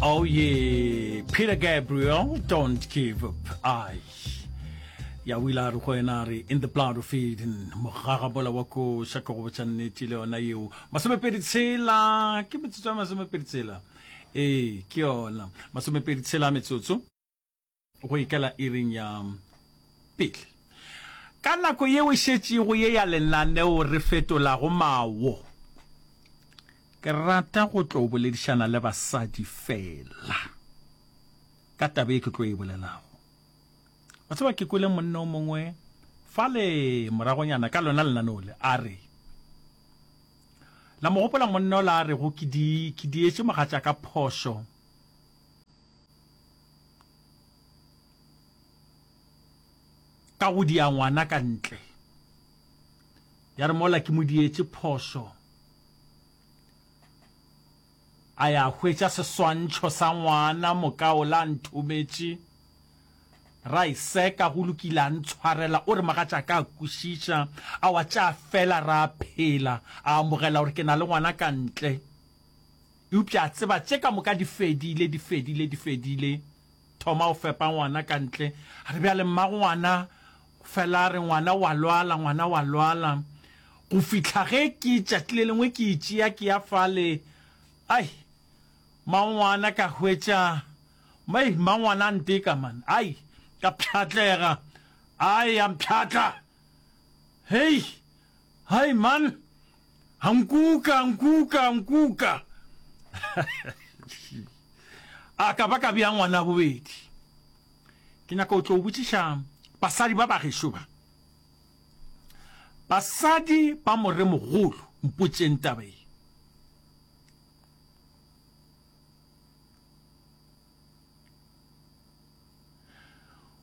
Oh yeah, Peter Gabriel, don't give up. Ai. Ya o ile a re go yena a re in the blood of Eden, mogagabola wa koša ke go botša nnete le yona yeo. Masomepedi tshela, ke metsotso ya masomepedi tshela. Ee, ke yona. Masomepedi tshela metsotso. Go ikela iring ya pele. Ka nako yeo e šetšego ye ya lenaneo re fetolago mawo, ke rata go tlo boledišana le basadi feela ka taba ye ke tlo e bolelago. Wa tseba, ke kwele monna o mongwe fale moragonyana ka lona lenaneo le, a re, La mo gopola monna ola a rego ke di, ke dietše mogatšaka phošo? Ka go dia ngwana ka ntle. Ya re mola ke mo dietše phošo, a ya hwetša seswantšho sa ngwana mokaola a nthometše, ra e seka, go lokile a ntshwarela, o re mogatšaka a kwešiša, a wa tša fela ra phela, a amogela gore ke na le ngwana ka ntle. Eupša a tseba tše ka moka di fedile, di fedile, di fedile. Thoma o fepa ngwana ka ntle. A re, Bjale, mmagongwana, fela a re, ngwana o a lwala, ngwana o a lwala. Go fihla ge ke, tšatši le lengwe ke e tšea ke ya fale, ai, mmagongwana ka hwetša, ai, mmangwana a nteka, man. Ai, ka pšhatlega. Ai, a mpšhatla. Hei, hai, man. A nkuka, a nkuka, a nkuka. A ka ba ka bea ngwana bobedi. Ke nyaka o tlo botšiša basadi ba bagešo ba. Basadi ba moremogolo, mpotšeng taba ye.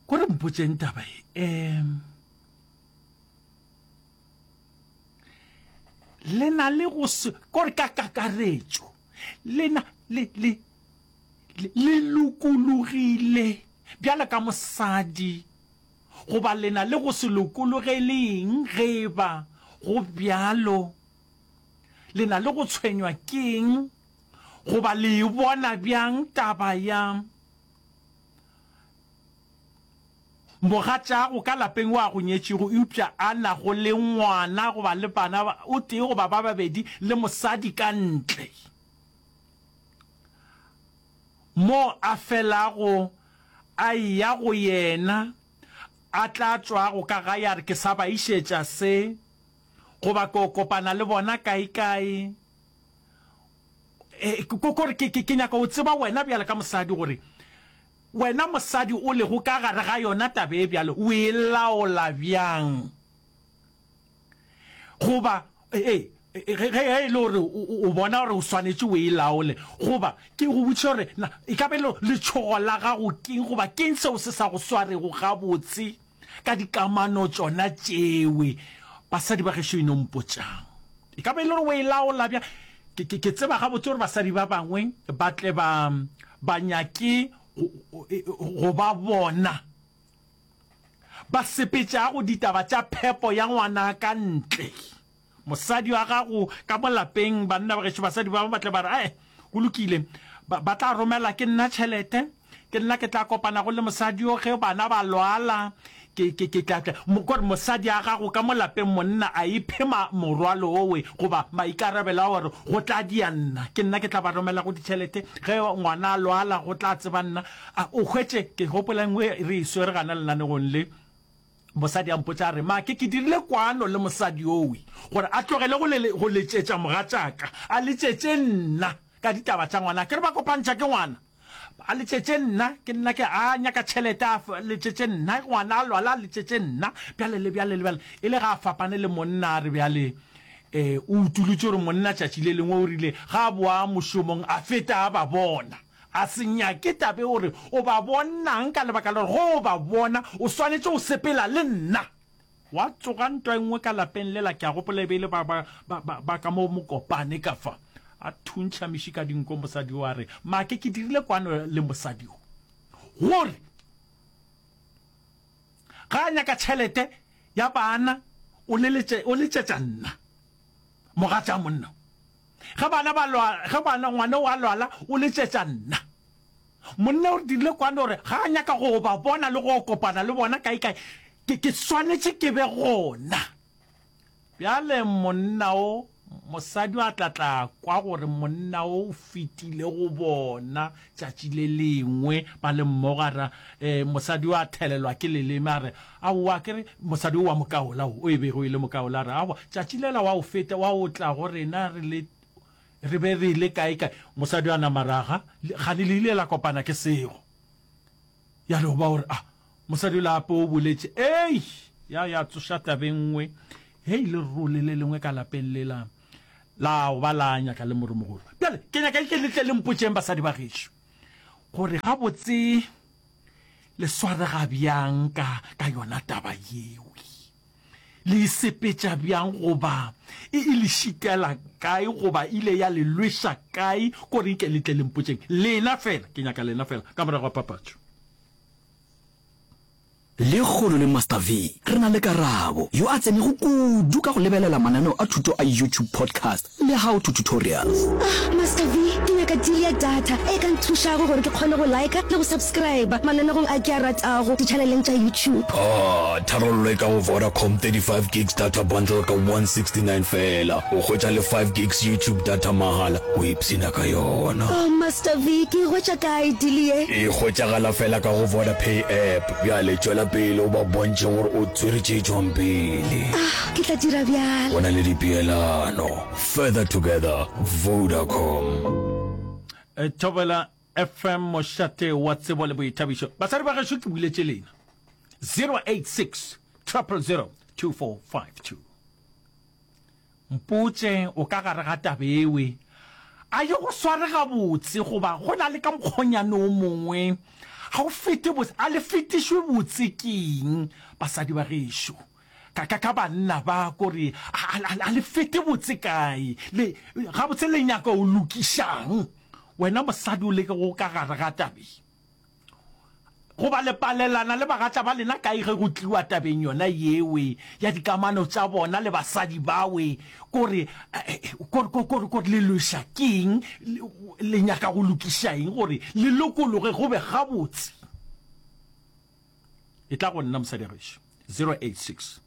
Kore mpotšeng taba ye. Um Le na le go se, kore ka kakaretšo, le na le, le, le lokologile bjalo ka mosadi, goba le na le go se lokologele eng ge e ba go bjalo? Le na le go tshwenywa ke eng, goba le e bona bjang taba ya Mogatšago ka lapeng yo a go nyetšego eupša a nago le ngwana goba le bana o tee goba ba babedi le mosadi ka ntle, mo a felago a eya go yena, a tla tšwago ka gae a re, Ke sa ba išetša se, goba ke o kopana le bona kaekae. E, ko re ke, ke, ke nyaka go tseba wena bjalo ka mosadi gore Wena mosadi o lego ka gare ga yona taba e bjalo, o e laola bjang? Goba, ee, ge, ge e le gore o, o bona gore o swanetše o e laole, goba ke go botšiša gore na e ka ba e le gore letšhogo la gago keng, goba keng seo se sa go swarego gabotse ka dikamano tšona tšewe? Basadi ba gešo e no mpotšang. E ka ba e le gore o e laola bjang? Ke, ke, ke tseba gabotse gore basadi ba bangwe ba tle ba, ba nyake go, go ba bona ba sepetšago ditaba tša phepo ya ngwana ka ntle. Mosadi wa gago ka mo lapeng, banna ba gešo, basadi ba bangwe ba tle ba re, Ae, go lokile, ba, ba tla romela ke nna tšhelete, ke nna ke tla kopanago le mosadi yo ge bana ba lwala, ke, ke, ke tla, tla. Kore mosadi a gago ka mo lapeng monna a iphe ma, morwalo owe goba maikarabelo a gore go tla dia nna, ke nna ke tla ba romelago ditšhelete, ge ngwana a lwala go tla tseba nna. A o hwetše, ke gopola e nngwe re e swere gana lenanegong le, Mosadi a mpotša a re, Make, ke dirile kwano le mosadi yowe gore a tlogele go le, go letšetša mogatšaka, a letšetše nna ka ditaba tša ngwana. Ke re ba kopantšha ke ngwana. A letšetše nna, ke nna ke, a nyaka tšhelete, a letšetše nna, ngwana a lwala, a letšetše nna, bjale le bjale le bjale. E le ga a fapane le monna, a re bjale, eh, o utolotše gore monna tšatši le lengwe o rile ga a boa mošomong a feta a ba bona. A se nyake tabe o re o ba bonang ka lebaka la gore ge o ba bona o swanetše go sepela le nna. Gwa tsoga ntwa e nngwe ka lapeng lela, ke a gopola e be e le ba, ba, ba, ba, ba ka mo Mokopane ka fa. A thuntšha meši ka dinko mosadi yo a re, Make, ke dirile kwano le mosadi yo gore ga a nyaka tšhelete ya bana o leletše, o letšetša nna, mogatša monna. Ge bana ba lwa, ge bana, ngwana o a lwala, o letšetša nna. Monna o re dirile kwano gore ga a nyaka go ba bona le go kopana le bona kae kae, ke, ke swanetše ke be gona. Bjale monna o, mosadi a tla tla kwa gore monna o o fetile go bona tšatši le lengwe ba le mmogo, a re, eh, mosadi o a thelelwa ke leleme, a re, Aowa, ke re, mosadi o wa mokaola o, o e bego e le mokaola, a re, Aowa, tšatši lela wa o feta, wa o tla go rena re le, re be re le kae kae. Mosadi a nama raga, kgane le ile la kopana ke sego. Ya no ba o re, Ah, mosadi yola gape o boletše. Ei! Ya, ya tsoša taba e nngwe. Hei, lerole le lengwe ka lapeng lela la go ba la nyaka le moremogolo. Bjale, ke nyaka ke le tle le mpotšeng basadi ba gešo, gore gabotse le swarega bjang ka, ka yona taba yeo. Le e sepetša bjang goba e, e le šitela kae goba ile ya le lweša kae? Ko re nke le tle le mpotšeng. Lena fela, ke nyaka lena fela, ka morago ga papatšo. Lekgolo le Master V re na le Karabo, yo a tsenego kudu ka go lebelela mananeo a thuto a YouTube podcast le how to tutorials. Ah, Master V, ke nyaka deal ya data e ka nthušago gore ke kgone go liker le go subscriber mananegong a ke a ratago di-channeleng tša YouTube. Ah, tharollo e ka go Vodacom 35 gigs data bundle ka 169 feela. O hwetša le 5 gigs YouTube data mahala, o ipshina ka yona. Oh, Master V, ke e hwetša kae deal ye? E hwetšagala feela ka go Vodapay app. Bjale tšwela pele o ba bontšhe gore o tswere tše tšwang pele. Ah, ke tla dira bjalo. Go na le dipeelano. Further together, Vodacom. Thobela FM mošate wa tsebo le boithabišo. Basadi ba gešo ke buletše lena. 086 000 2452. Mpotše o ka gare ga taba ewe. A ye go sware gabotse goba go na le ka mokgonyane o mongwe ga o fete botse? A le fetišwe botse keng basadi ba gešo? Ka, ka, ka banna ba kore a, a, a le fete botse kae? Le, gabotse le nyaka o lokišang? Wena mosadi o leke go ka gare ga tabe. Goba le palelana le bagatša ba lena kae ge go tliwa tabeng yona yewe ya dikamano tša bona le basadi bawe? Kore, kore, kore, kore le lweša keng? Le nyaka go lokiša eng gore le lokologe go be gabotse? E tla go nna mosadi gešo 086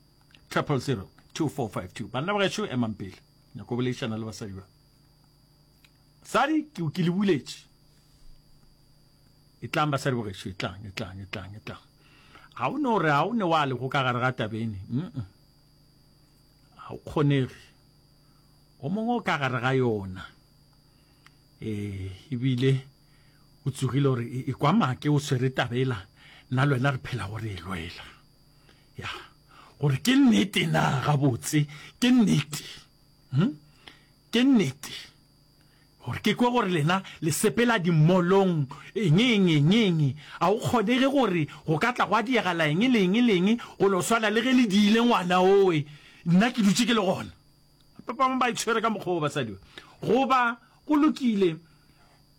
000 2452. Banna ba gešo emang pele, nyako boledišana le basadi ba. Sadi, ke, ke le buletše. Etlang basadi bogešo, etlang, etlang, etlang, etlang. Ga o no re ga o ne wa lego ka gare ga tabene. Mm -mm. Ga o kgonege. O mongwe o ka gare ga yona. Eh, ebile o tsogile gore e, e kwa make o swere tabela nna le wena re phela gore e lwela. Ya, gore ke nnete na gabotse, ke nnete. Hm? Ke nnete. Gore ke kwe gore lena le sepela dimolong, eng, eng, eng, eng. A go kgonege gore go ka tla gwa diegala eng le eng le eng, go no swana le ge le diile ngwana owe, nna ke dutše ke le gona. Ba bangwe ba itshwere ka mokgwa wo basadi ba. Goba, go lokile,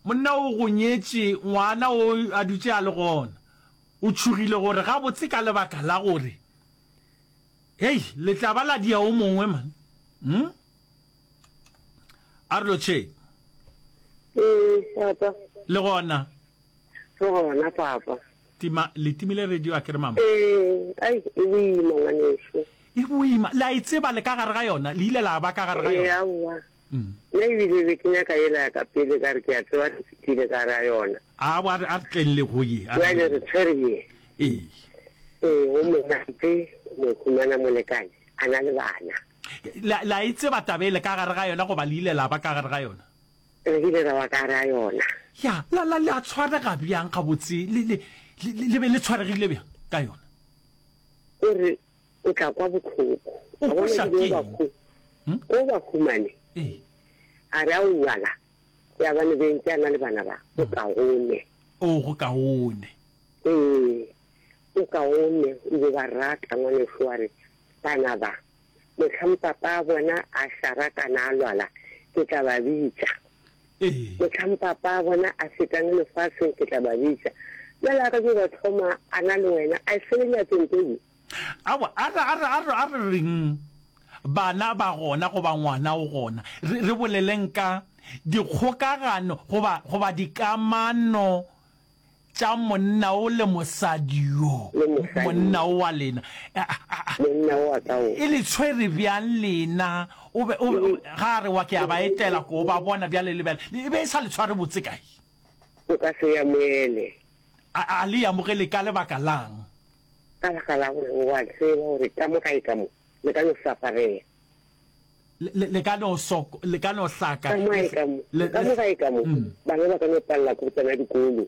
monna o go nyetše, ngwana o a dutše a le gona. O tšhogile gore gabotse ka lebaka la gore, hei, le tla ba la dia o mongwe, man. Hmm? A re lotšheng. Ee, papa. Le gona? Re gona, papa. Tima, le timile radio a ke re mama? Ee, ai, e boima ngwaneso. E boima, le a e tseba le ka gare ga yona, le ile la ba ka gare ga yona? Ee, aowa. Mm. Nna ebile be ke nyaka yela ya ka pele ka re ke a tseba re fetile ka gare ga yona. A a re tleng le go ye. Bjale re tshwere ye. Ee. Ee, o monate, mo humana molekane, a na le bana. Le, le a e tseba taba e le ka gare ga yona goba le ile la ba ka gare ga yona? Re ile ra ba ka gare ga yona. Ya, la, la, le a tshwarega bjang gabotse? Le, le, le, le be le tshwaregile bjang ka yona? O re o tla kwa bohloko. O Wa bona kweša ebile o ba keng? hu, Hm? o ba humane. Ee. A re aowa la, ya bane be ntse a na le bana ba, go kaone. O, go kaone. Ee, o kaone, o be ba rata ngwaneso wa re, Bana ba, mohlang papa a bona a šarakana a lwala, ke tla ba bitša. Ee. Mohlang papa a bona a fetang lefaseng, ke tla ba bitša. Bjale a ka tšo ba thoma a na le wena, a e fele nyatseng tse di. Aowa, a re, a re, a re, a re reng bana ba gona goba ngwana o gona. Re, re boleleng ka dikgokagano goba, goba dikamano. tša monna o le mosadi yo, Le mosadi monna o wa lena, a, a, a, Monna wa ka o. e le tshwere bjang lena? O be, o be, o, ga a re wa ke a ba etela ko ba bona bjale le bjale, e be e sa le tshware botse kae? O ka se e amoele. A, a le e amogele ka lebaka la'ng? Ka baka la gore o a tseba gore ka mo gae ka mo, le ka no saparela. Le, le, le ka no soko, le ka no hlaka. Ka mo gae ka mo, Le, ka mo gae ka mo, mm. bana ba ka no palela ke go tsena dikolo.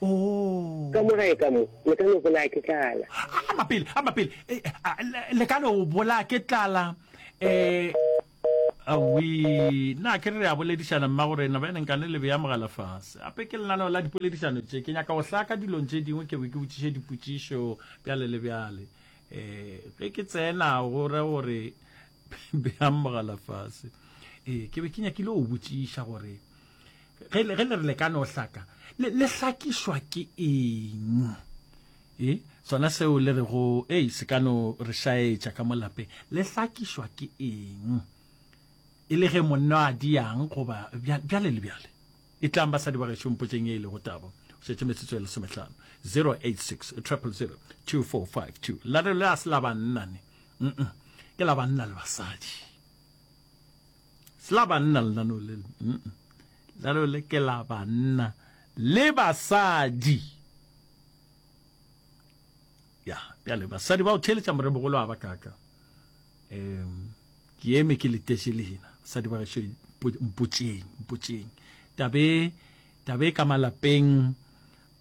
Oh. Ka mo gae ka mo, le ka no bolaya ke tlala. Ama pele, ama pele. Eh, a, le, le ka no bolaya ke tlala. Eh, awi, na ke re re a boledišana mma gore na bene nkane le beya mogala fase. Ape ke lenaneo la dipoledišano tše, ke nyaka go hlaka dilong tše dingwe ke be ke botšiše dipotšišo bjale le bjale. Eh, ge ke tsena go ra gore beang mogala fase. Eh, ke be ke nyakile go botšiša gore ge le ge le re le ka no hlaka, le le hlakišwa ke eng? E, sona seo le rego, ei, se ka no re šaetša ka mo lapeng. Le hlakišwa ke eng? E le ge monna a diang goba bjale le bjale. Etlang basadi ba gešo mpotšeng ye e lego taba. O šetše metsotso e lesomehlano. 086 000 2452. Lenaneo le a se la banna ne. Mm-mm. Ke la banna le basadi. Se la banna lenaneo le. Mm-mm. Lenaneo le ke la banna le basadi. Ya, bjale basadi ba o theeletša moremogolo a ba kaka. Um Ke eme ke letetše lena, basadi ba gešo, mpotšeng, mpotšeng. Tabe, tabe ka malapeng,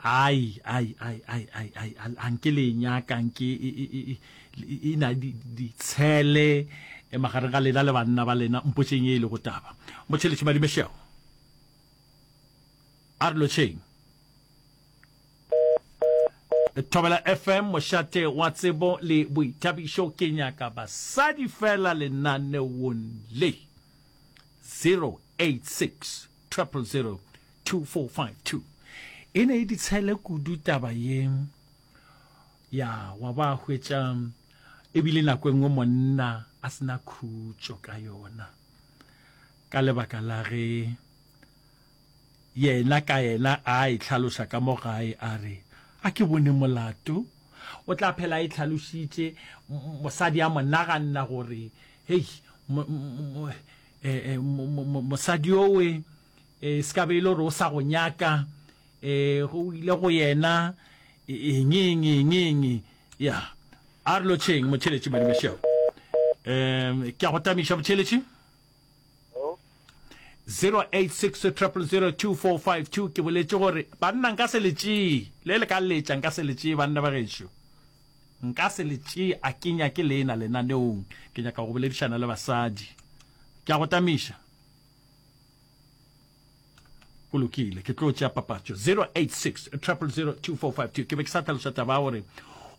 ai, ai, ai, ai, ai, ai, a nke le e nyaka, nke e, e, e, e, e na ditshele e magareng ga lena le banna ba lena, mpotšeng ye e lego taba. Motšheletši Madimešego, a re lotšheng. Thobela FM, mošate wa tsebo le boithabišo. Ke nyaka basadi fela lenaneong le. 086 000 2452. E ne e ditshele kudu taba ye ya wa ba hwetša ebile nako e nngwe monna a sena khutšo ka yona ka lebaka la ge Yena ka yena a e hlaloša ka mo gae a re, A ke bone molato. O tla phela a e hlalošitše, mosadi a mo naganna gore, Hei, mosadi owe e se ka be e le gore o sa go nyaka, o ile go yena, eng, eng, eng, eng. Ya, a re lotšheng, motheeletši Madimešego. Um, ke a go tamiša, motheeletši. 086 000 2452 ke boletše gore banna nka se le tšee le le ka letša nka se le tšee banna ba gešo nka se le tšee a ke nyake lena lenaneong ke nyaka go boledišana le basadi ke a go tamiša Go lokile, ke tlo tšea papatšo. 086 000 2452. Ke be ke sa hlaloša taba ya gore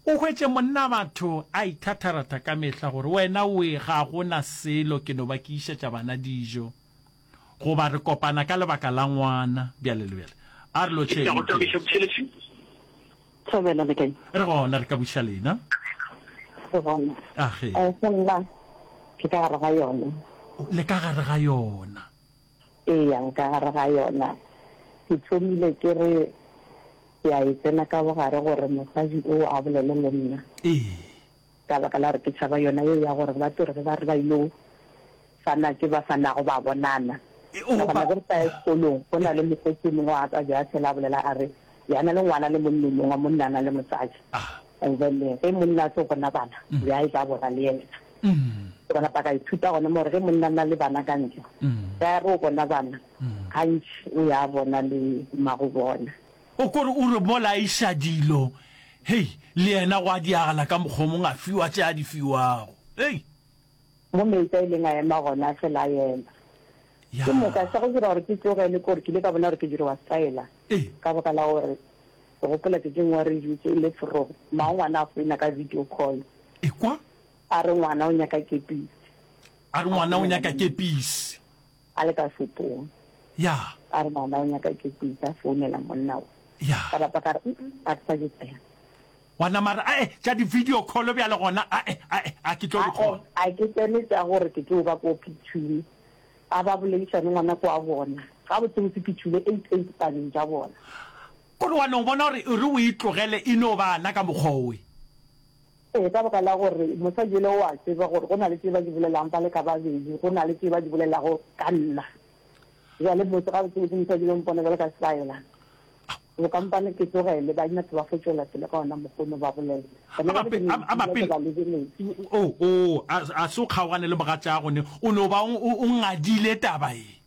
o hwetše monna batho a ithatharatha ka mehla gore wena oe ga go na selo ke no ba ke išetša bana dijo goba re kopana ka lebaka la ngwana bjale le bjale. A re lotšheng motheeletši. Thobela le kae? Re gona, re ka buša lena. Re gona. Age. Eh, nna ke ka gare ga yona. Le ka gare ga yona. Eya, nka gare ga yona. Ke thomile ke re ke a e tsena ka bogare gore mosadi o a bolele le nna. Ee. Ka baka la gore ke tšhaba yona yeo ya gore ba tlo re ge ba re ba ilo fana tše ba fanago ba bonana. Ka gona ge re sa ya sekolong go na le mokgotsi o mongwe wa ka ja fela a bolela a re ya na le ngwana le monna o mongwe wa monna a na le mosadi. And then ge monna a tlo bona bana ya e tla bona le yena. Ke bona ba ka ithuta gona mo gore ge monna a na le bana ka ntle, ge a re o bona bana, gantši o ya bona le mmago bona. O ko re o re mola a iša dilo, hei, le yena gwa diagala ka mokgwa o mongwe a fiwa tše a di fiwago. Hei! Mo meetse a ileng a ema gona, a fela a ema. Ke moka sa go dira gore ke tlogele ke gore ke ile ka bona gore ke diriwa stlaela ka baka la gore ke gopola tšatši lengwe re dutše e le forogo, mmago ngwana a founa ka video call. Ekwa? A re ngwana o nyaka kepisi. A re ngwana o nyaka kepisi. A le ka shopong. Ya. A re ngwana o nyaka kepisi, a founela monna o. Ya. Ka bapa ka re, mm a ke sa di tsena. Wa nama re, ae, tša di-video call bjale gona, ae, ae, a ke tlo di kgona. Ae, a ke tsene tša gore ke tlo ba ko Phitšhule. A ba boledišane ngwana ko a bona. Gabotsebotse ke tšhule 88 paneng tša bona. Kore wa no bona gore e re o e tlogele e no ba na ka mokgwa owe. Ee, ka baka la gore mosadi yola o a tseba gore go na le tše ba di bolelang ba le ka babedi, go na le tše ba di bolelago ka nna. Bjale motse gabotsebotse mosadi yola o mpona bjalo ka setlaela. Bokampane ke tlogele, ba nyaka ba fo tšwela pele ka ona mokgwa ono ba bolela. Gona A bjale ke ba, no a ba dula ke pele, ba lebeletše. o, o, a, a se o kgaogane le mogatšago ne, o no ba o, o, o ngadile taba ye.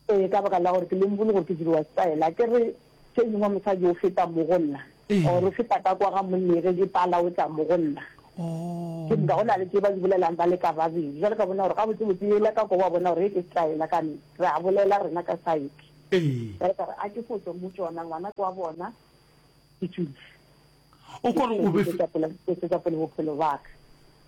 Ee, ka baka la gore ke lemogile gore ke diriwa style. A ke re tše dingwe mosadi o feta mo go nna, or o feta ka kwa ga monna ge ke pala o tla mo go nna. Ke moka go na le tše ba di bolelang ba le ka babedi. Jwale ka bona gore gabotsebotse yela ka kwa wa bona gore ye ke style ka nna. Re a bolela rena ka side. Jwale ka re a ke fo tšwa mo tšona, ngwana ke wa bona, ke tšwile. O kore o be. Ke tšwetša pele bophelo ba ka.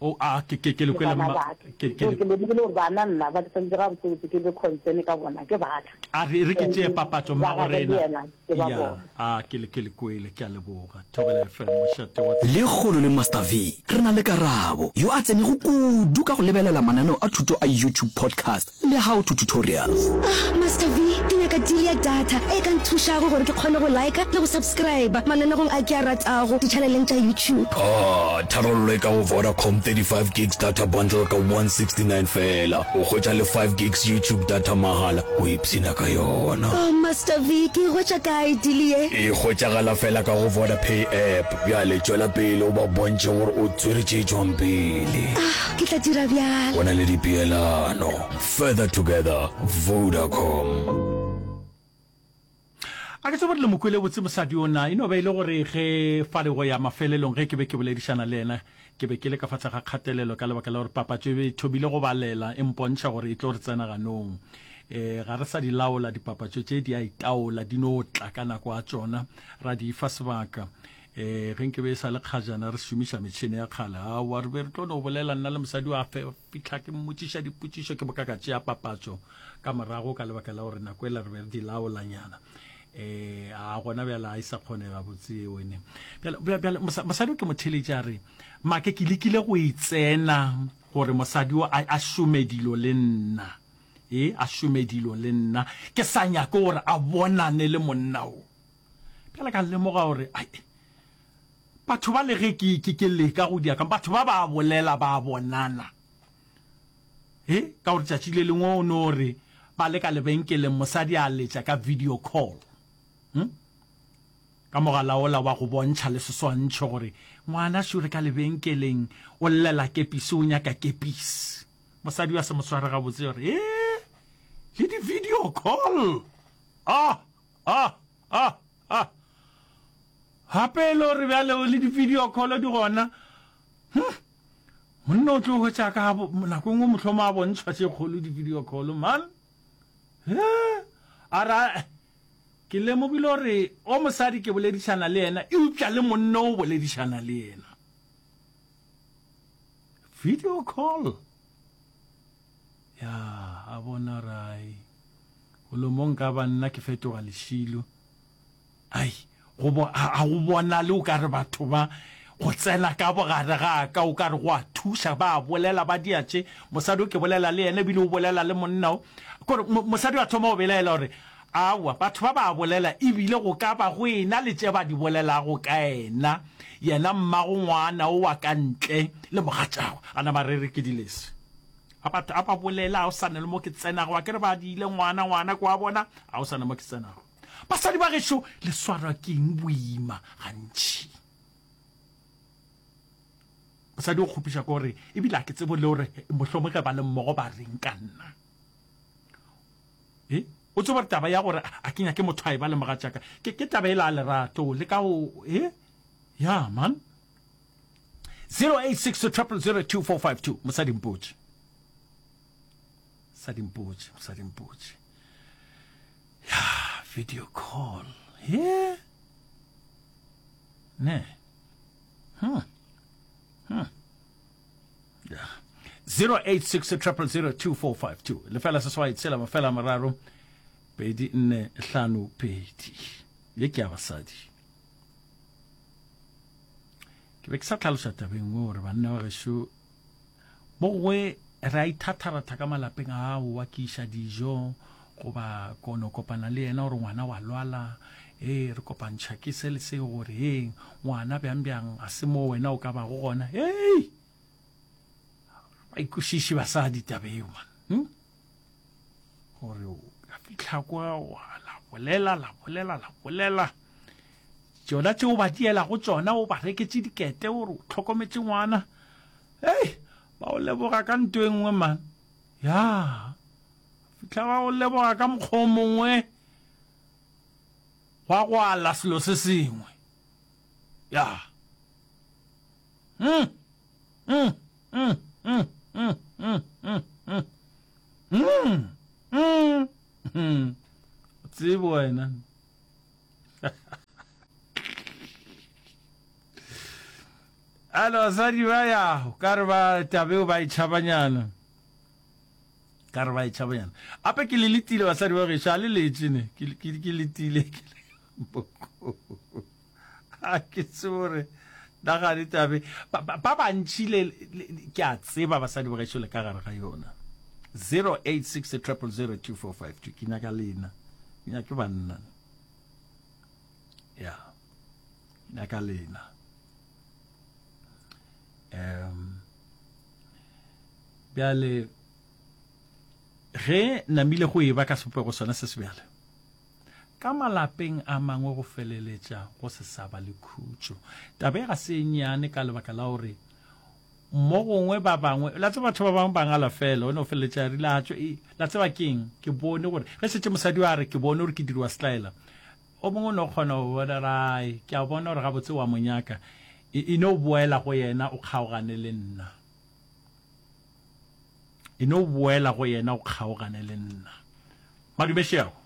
O a ke ke ke le kwele mma. Ke ke ke lemogile gore bana nna ba tshwanetse ga botsebotse ke be concern ka bona ke ba ka. A re re ke tšee papatšo mma go rena. Ya a ke le ke le kwele ke a leboga. Thobela FM mošate wa. Lekgono le Master V re na le Karabo, yo a tsenego kudu ka go lebelela mananeo a thuto a YouTube podcast le How to Tutorials. Ah, Master V, ke nyaka deal ya data e ka nthušago gore ke kgone go liker le go subscriber mananegong a ke a ratago ditšhaneleng tša YouTube. Ah, tharollo e ka go Vodacom 35 gigs data bundle ka 169 feela. O hwetša le 5 gigs YouTube data mahala o ipshina ka yona. Oh, Master V, ke e hwetša kae deal ye? E hwetšagala feela ka go Vodapay app. Bjale tšwela pele o ba bontšhe gore o tswere tše tšwang pele. Ah, ke tla dira bjalo. Go na le dipeelano. Further together, Vodacom. A ke tsebe gore le mo kwele botse mosadi o na. E no ba e le gore ge fale go ya mafelelong ge ke be ke boledišana le yena, ke be ke le ka fa tlase ga kgatelelo ka lebaka la gore papatšo e be e thomile go balela, e mpontšha gore e tlo re tsena ganong. Um ga re sa di laola dipapatšo tše, di a itaola, di no tla ka nako ya tšona, ra di fa sebaka. Um ge nke be e sa le kgajana re šomiša metšhene ya kgale, aowa re be re tlo no bolela nna le mosadi wa fe fihla ke mmotšiša dipotšišo ke boka ka tšea papatšo ka morago ka lebaka la gore nako ela re be re di laolanyana. Um a gona bjale a e sa kgonega botse eo ene. Bjale, bjale, bjale mosadi o ke mo theletše a re, Make ke lekile go e tsena gore mosadi o a, a šome dilo le nna. E, a šome dilo le nna. Ke sa nyake gore a bonane le monna o. Bjale ka lemoga gore, ai, batho ba le ge ke, ke, ke leka go dia ka, batho ba ba bolela ba bonana. E, ka gore tšatši le lengwe o no re ba le ka lebenkeleng mosadi a letša ka video call. Hm? Ka mogala ola wa go bontšha le seswantšho gore ngwana šo re ka lebenkeleng o llela kepisi o nyaka kepisi. Mosadi wa se mo sware gabotse gore e le di video call. Ah, ah, ah, ah. Gape e le gore bjale le di video call di gona. Hm. Monna o tlo hwetša ka nako e nngwe mohlomo a bontšhwa tše kgolo di-video call man. He, a ra ke lemogile gore o mosadi ke boledišana le yena eupša le monna o boledišana le yena. Video call. Ya, a bona rai. Golo mo nka ba nna ke fetoga lešilo. Ai, go bo, a, a go bonale o ka re batho ba, go tsena ka bogare ga ka, o ka re go a thuša, ba a bolela, ba dia tše. Mosadi o ke bolela le yena, ebile o bolela le monna o. Kore, mo, mosadi a thoma go belaela gore, Aowa, batho ba ba a bolela, ebile go ka ba go ena le tše ba di bolelago ka yena, yena mmago ngwana o wa ka ntle le mogatšagwe. A na ba re re ke dilese. A batho a ba bolela, a o sa na le mo ke tsenago, a ke re ba diile ngwana, ngwana ke wa bona, a o sa na mo ke tsenago. Basadi ba gešo, le swarwa ke eng boima gantši? Mosadi o kgopiša ke gore ebile a ke tsebo le gore mohlomong ge ba le mmogo ba reng ka nna. E, o tsebo gore taba ya gore a ke nyake motho a e ba le mogatšaka ke, ke taba e la lerato le ka o e ya man 086 0002452 mosadi mpotše mosadi mpotše mosadi mpotše ya video call ye ne hmm hmm ya 086 0002452 lefela seswai tshela mafela mararo pedi nne hlano pedi ye ke ya basadi ke be ke sa tlhalosa tabeng nngwe gore banna ba gešo Bogwe re a ithatharatha ka malapeng a aowa ke iša dijo goba ko no kopana le yena gore ngwana wa lwala. Ee, re kopantšha ke se le se gore heng ngwana bjang bjang ga se mo wena o ka bago gona. Hei! Ba ikwešiše basadi taba eo man. Hm? Gore o ka fihla kwa wa la bolela la bolela la bolela. Tšona tšeo ba dielago tšona o ba reketše dikete gore o hlokometše ngwana. Hei, ba o leboga ka nto e nngwe man. Ya. Fihla ba o leboga ka mokgwa o mongwe. Gwa gwala selo se sengwe. Ya. Mm. Mm. Mm. Mm. Mm. Mm. Mm. Mm. Mm. Mm. Mm. Tsebo wena. Alo basadi ba ya, ka re ba tabeo ba e tšhabanyana. Ka re ba e tšhabanyana. Ape ke le letile basadi ba gešo, a le letše ne. Ke ke ke letile ke le A ke tsebe gore na ga di tabe ba ba bantši le ke a tseba basadi ba gešo le ka gare ga yona. 086 000 2452 ke nyaka lena. Ke nyake banna. Ya. Ke nyaka lena. Um bjale ge namile go eba ka sebopego sona se sebjale ka malapeng a mangwe go feleletša go se sa ba le khutšo. Taba e ga se e nnyane ka lebaka la gore mo gongwe ba bangwe, la tseba batho ba bangwe ba ngala fela, o no feleletša a rile a tšwe, e, la tseba keng, ke bone gore ge šetše mosadi a re ke bone gore ke dirwa setlaela, o mongwe o no kgona go bona rai, ke a bona gore gabotse wa mo nyaka, e, e no boela go yena o kgaogane le nna. E no boela go yena o kgaogane le nna. Madume šeago.